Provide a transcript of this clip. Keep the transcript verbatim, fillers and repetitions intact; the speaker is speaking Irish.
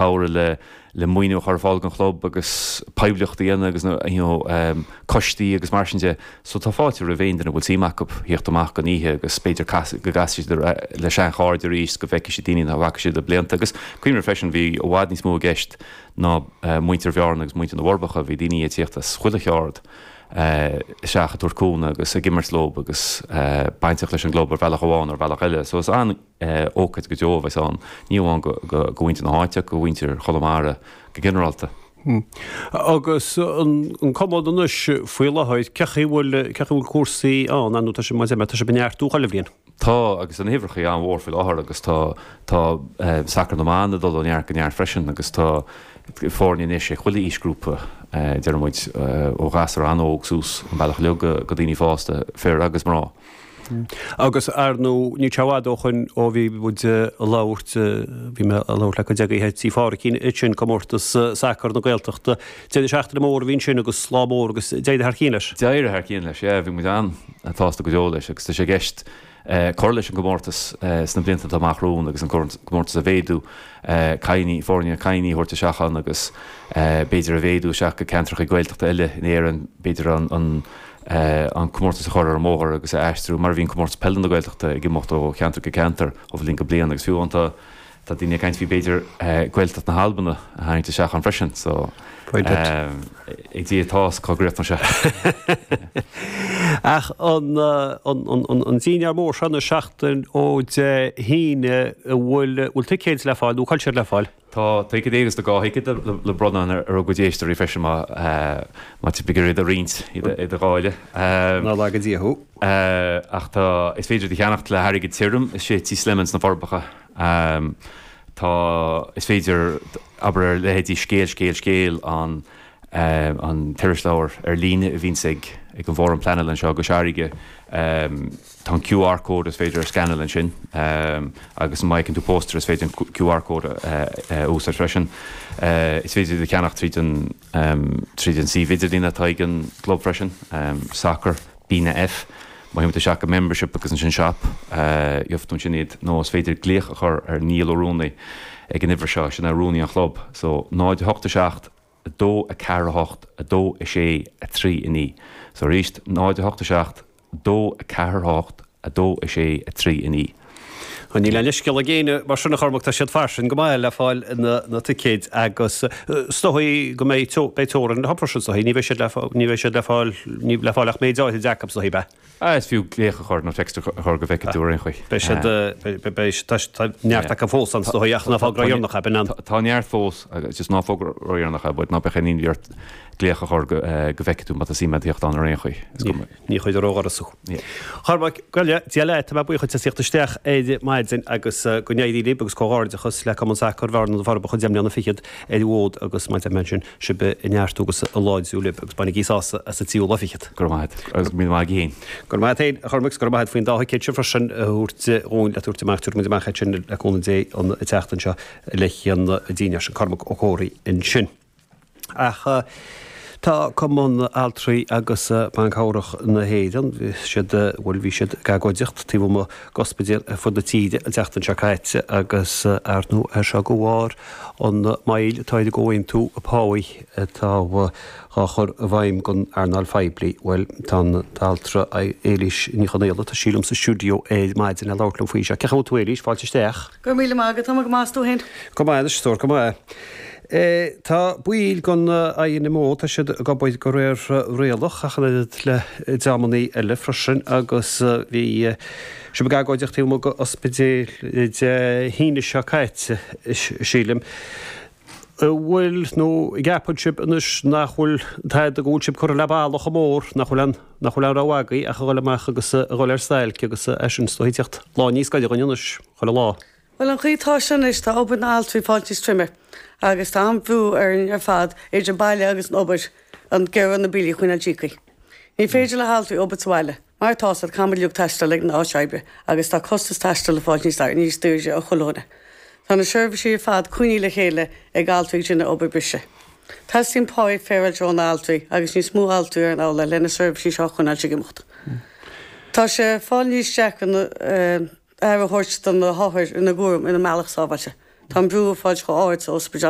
Cabhrú le le maoiniú a chur ar fáil don chlub agus poiblíocht a dhéanamh agus you know um, coistí agus mar sin de. So tá fáilte roimh aon duine a bhfuil suim acu theacht amach don oíche agus b'fhéidir go gcasfaidh siad le seanchairde arís go bhfeicfidh siad daoine nach bhfaca siad le blianta agus cuimhnigh freisin bhí i bhfad níos mó i gceist ná uh, muintir Bhearna agus muintir na bhForbacha bhí daoine ag tíocht as chuile cheard uh, isteach ag tabhairt cúnamh agus ag imirt leo agus uh, bainteach leis an gclub ar bhealach amháin ar bhealach eile. So is an uh, ócáid go deo a bheas ann ní amháin go, go, go mhuintir na háite go mhuintir Chonamara go ginearálta. Hmm. Agus an, an cumann anois faoi láthair cén chaoi bhfuil cén chaoi bhfuil cúrsaí ann nó tá sé mar tá sé ag neartú chuile bhliain. Tá agus an uimhreacha an-mhór faoi láthair agus tá tá eh, sacar na mban ag dul ó neart go neart freisin agus tá foirne anois ag chuile aoisghrúpa eh, deir muid eh, ó ghasúir an-óg suas an bealach leo go go daoine fásta fir agus mná. Agus ar nó ní teád ó chun ó bhí muid ag labhairt bhí mé ag labhairt le cuid agaibh Tí Phádraicín sin comórtas sacar na Gaeltachta. Deireadh seachtaine mór a bhí sin agus lá mór agus d'éirigh thar cionn leis. D'éirigh thar cionn leis, yeah, bhí muid an-sásta go deo leis agus tá sé i gceist eh, cur leis an gcomórtas eh, sna blianta atá amach romhainn agus an comórtas a mhéadú eh, cailíní foirne cailíní a thabhairt isteach ann agus eh, b'fhéidir a mhéadú isteach go ceantracha Gaeltachta eile in Éirinn b'fhéidir an, an Uh, an comórtas a chur ar an mbóthar agus a aistriú mar bhíonn comórtas peile na Gaeltachta ag imeacht ó cheantar go ceantar ó bhliain go bliain agus fiú tá tá daoine ag caint faoi b'fhéidir uh, Gaeltacht na hAlban a tharraingt isteach ann freisin so ag Dia atá cá gcríochnóidh sé. Ach an, an, an, an, an dinnéar mór seo na seachtain ó Dé hAoine bhfuil bhfuil ticéid le fáil nó cá bhfuil siad le fáil. Tá ticéid agus tá dhá thicéad le, le bronnadh ar ar gcuid éisteoirí freisin má má tá iad a roinnt iad a dháileadh. Ná laga Dia thú. Ach tá is féidir iad a cheannacht le hairgead tirim is sé Tí Slemon sna Forbacha. Um, tá is féidir abair ar leithéidí scéal scéal scéal an um, an t-irisleabhar ar líne a bhíonns ag ag an bhFóram Pleanála anseo go Searige um, tá an QR code is féidir a scannáil ansin um, agus má fheiceann tú póstaer is féidir an QR code a uh, uh, úsáid freisin. Uh, is féidir iad a cheannacht tríd an um, tríd an suíomh idirlín atá ag an gclub freisin, um, soccer B na F. Má théann tú isteach go membership agus ansin shop uh, gheobhaidh tú sin iad nó is féidir glaoch a chur ar Niall Ó Rúnaí ag an uimhir seo sin é rúnaí an chlub, so náid a hocht a seacht a dó a ceathair a hocht a dó a sé a trí a naoi. So arís náid a hocht a seacht dó a ceathair a hocht a dó a sé a trí a naoi. Níl aon leithscéal ag éinne mar sin a Chormaic tá siad fairsing go maith le fáil na, na ticéid agus is dóigh go mbeidh beidh teorainn le freisin is dóigh ní bheidh siad le ní bheidh siad le fáil ní le fáil ach méid áirithe acu is dóigh be. Ah, is fiú glaoch a chur nó text a chur go bhfeicfidh tú ar aon chaoi. Beidh siad beidh neart acu fós an is dóigh ach ná fógra ródheireanach é b'in an. Tá neart fós agus just ná fógra ródheireanach é, but ná beidh aon imní ort glaoch a chur go go bhfeicfidh tú má tá suim agat theacht ann ar aon chaoi. Ní chuid ródhorasú. Chormac goile Dia tá mé buíoch as teacht isteach ar maidin agus go n-éirí libh agus comhghairdeachas le Cumann Sacair Bhearna na Forbacha deich mbliana fichead ar an bhfód agus mar a deir mé sin sibh ag neartú agus ag láidriú libh agus bainigí sásamh as an tríú lá fichead. Go raibh maith agus míle maith agat féin. Go raibh maith agat féin a Chormaic go raibh maith faoin dá thicéad sin freisin a thabhairt dhúinn le tabhairt amach tabharfaidh muid amach iad sin le cúnamh Dé an tseachtain seo le an dinnéar sin Cormac Ó Comhraí ansin. Ach tá Cumann Altraí agus Ban Cabhrach na hÉireann bhí siad bhuel bhí siad ag agóidíocht taobh amuigh d'ospidéil ar fud na tíre an tseachtain seo caite agus ar ndóigh é seo de bharr an moill atá ar an gcomhaontú páí atá á chur i bhfeidhm don earnáil phoiblí. Bhuel tá an t-altra Éilís Ní Chonaola tá sí liom sa stiúideo ar maidin le labhairt liom faoi seo. Cén chaoi a bhfuil tú Éilís, fáilte isteach. Go raibh míle maith agat, tá mé go maith is tú féin. Go maith anois, stór, go maith. Tá baill den INMO, tá siad ag obair de réir rialach ach an oiread le dreamannaí eile freisin agus bhí sibh ag agóidíocht taobh amuigh d'ospidéil Dé hAoine seo caite, sílim. An bhfuil nó an gceapann sibh anois nach bhfuil tada go bhfuil sibh curtha le balla chomh mór, nach bhfuil an nach bhfuil aon rogha agaibh ach a dhul amach agus a dhul ar stailc agus é sin is dóigh teacht lá níos gaire dhúinn anois chuile lá. Bhuel an chaoi atá sé anois tá obair na n-altraí fáilt níos troime agus tá an-bhrú orainn ar fad idir baile agus an obair an gearradh na billí a choinneáil íoctha. Ní féidir le haltraí obair sa bhaile, mar tá siad caithfidh muid uilig taisteal ag an áit oibre agus tá costas taistil ag fáilt níos níos daoirde ó chuile dhuine. Tá na seirbhísí ar fad coinnithe le chéile ag altraí ag déanamh obair breise. Teastaíonn pá féaráilte ó na altraí agus níos mó altraí ar an fhalla le na seirbhísí seo a choinneáil ag imeacht. Tá sé fáil níos deacra na aire a thabhairt do na hothair ina gcúram ina mbealach sábháilte. Tá an brú ag fáil chomh hard sa ospidéal.